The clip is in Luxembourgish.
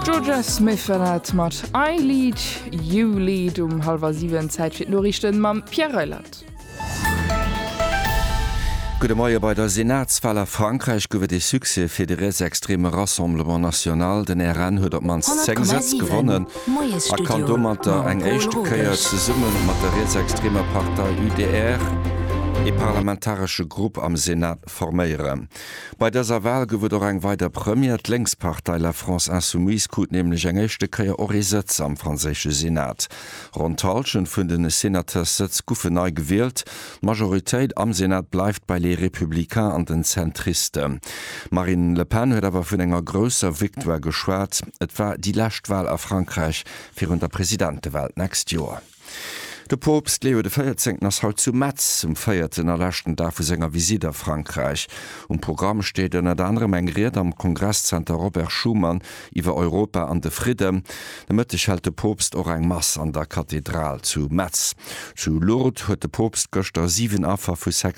D'Jorja Smith war dat mat I Lead, You Lead um hallwer 7. Zäit fir d'Noriichten mam Pierre Reyland. Gudde Moie, Bei der Senatswal a Frankräich gouf et ee Succès fir de rietsextreme Rassemblement National. Den RN huet op d'mannst 10 Sëtz 100,7 gewonnen a kann Moiesstudio domatter mam eng Paul éischte Kéier Rodesch. zesumme mat der rietsextremer Partei UDR ee parlamentaresche Grupp am Senat forméieren. Bei dëser Wal gouf et och eng weider Première, D'Lénkspartei La France Insoumise krut nämlech eng éischte Kéier och ee Sëtz am franséische Senat. Ronn d'Hallschent vun de Senateurs-Sëtz goufen nei gewielt. D'Majoritéit am Senat bleift bei Les Républicains an den Zentristen. D'Marine Le Pen huet awer vun enger grousser Victoire geschwat. Et war déi lescht Wal a Frankräich virun der Presidentewal d'nächst Joer. De Poopst Leo de Véierzéngten ass haut zu Metz, um véierten a leschten Dag vu senger Visitt a Frankräich. Um Programm steet ënnert anerem eng Ried am Kongresszenter Robert Schuman iwwer Europa an de Fridden. De Mëtteg hält de Poopst och eng Mass an der Kathedral zu Metz. Zu Lourdes huet de Poopst gëschter 7 Affer vu sexueller.